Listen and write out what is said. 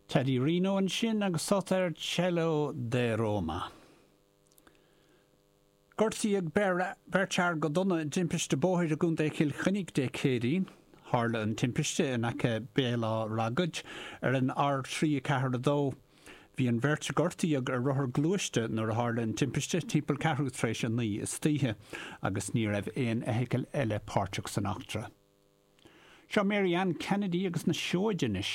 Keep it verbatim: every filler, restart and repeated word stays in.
Teddy Reno ansin agus sult ar Cielo di Roma. Gortaíodh beirt fhear go dona i dtimpiste bóthair i gContae Chill Chainnigh Dé Céadaoin. Tharla an timpiste in aice Béal Átha Ragaid ar an R trí ceathair a dó. Bhí an bheirt a gortaíodh ar rothar gluaiste nuair a tharla an timpiste timpeall ceathrú tar éis a naoi istoíche, agus ní raibh aon fheithicil eile páirteach san eachtra. Seo Mary Ann Kennedy agus na Seoid anois.